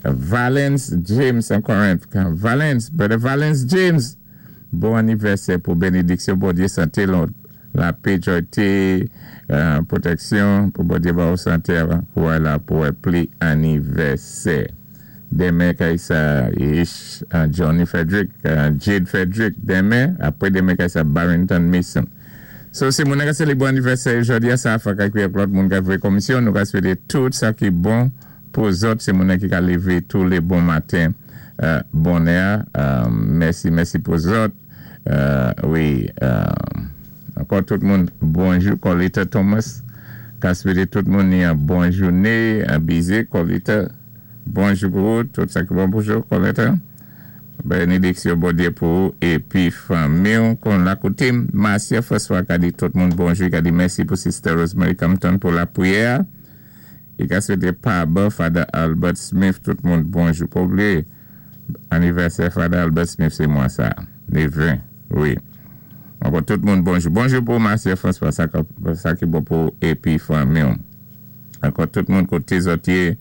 Valence James an Corinth. Valence, Brother Valence James, bon anivèsè pou bénédiksyon Bondyé, santé, lapè, jòyté, pwotèksyon, pou Bondyé ba ou santé pou la pou pli anivèsè. Denmen kay sa Ish, Johnny Frederick, Jade Frederick, denmen, apwé denmen kay sa Barrington Mason. So, si moun ka sélébré anivèsè jòdi-a sa fwa kay ak lòt moun ka vwé komisyon, nou ka swété tout sa ki bon pou zòt, sé moun ki ka lévé tou lé bon maten bonè. Mèsi, mèsi pou zòt. Wi, ankò tout moun, bonjou, Colita Thomas, ka swété tout moun ni yon bon jouné, an bize, Colita, bonjou pou ou, tout sa ki bon pou jou, Colita. Bénédiksyon Bondyé pou ou épi fanmi kon la koté Marcia François ka di tout moun bonjou, ka di mèsi pou Sister Rosemary Compton pou lapriyè. I ka swété Paba Father Albert Smith tout moun bonjou. Pa oubliyé anivèsè Father Albert Smith sé mwa sa, lé 20. Wi. Ankò tout moun bonjou. Bonjou pou Marcia François, sa ki bon pou épi fanmi. Ankò tout moun koté zòt yé,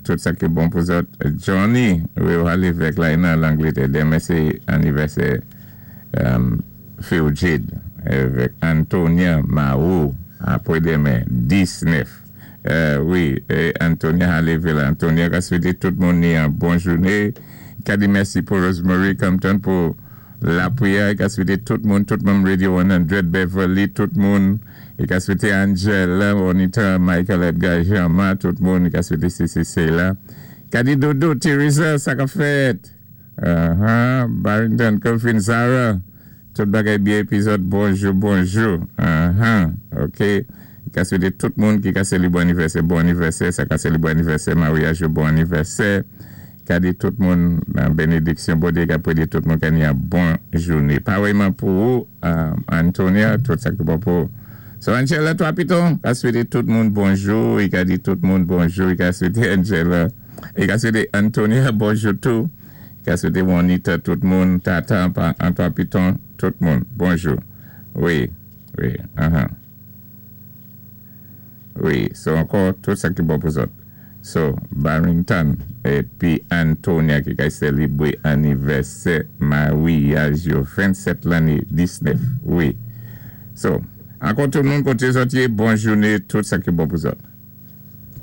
tout sa ki bon pou zòt. Johnny, wi, lévèk la, nan Langlétè. Denmen sé anivèsè Phil Jade avèk Antonia Marou apwé denmen 19. Wi, Antonia a la. Antonia ka swété tout moun ni yon bon jouné. Ka di mèsi pou Rosemary Compton pou lapriyè. Ka swété tout moun, tout moun Radio 100 Beverly, tout moun. I ka swété Angela, Bonita, Michael Edgar, Jean-Marc, tout moun. I ka swété CCC la. Ka di Dodo, Teresa, sa ka fèt. Barrington, Kelvin, Zara. Tout bagay byen épi zòt, bonjou, bonjou. OK. I ka swété tout moun ki ka sélébré anivèsè, bon anivèsè. Sa ka sélébré anivèsè, maryaj, bon anivèsè. Ka di tout moun nan bénédiksyon Bondyé ka pwédi tout moun ka ni yon bon jouné. Parèyman pou ou, Antonia, tout sa ki bon pou ou. So Angela Trois Pitons, ka swété tout moun bonjou, i ka di tout moun bonjou, i ka swété Angela, i ka swété Antonia bonjou tou, i ka swété Juanita tout moun, Tata, an Trois Pitons, tout moun, bonjou. Wi. Wi, so ankò, tout sa ki bon pou zòt. So, Barrington épi Antonia ki ka sélébré anivèsè maryaj yo 27 lanné 19. Wi. So, ankò tout moun koté zòt yé, bon jouné, tout sa ki bon pou zòt.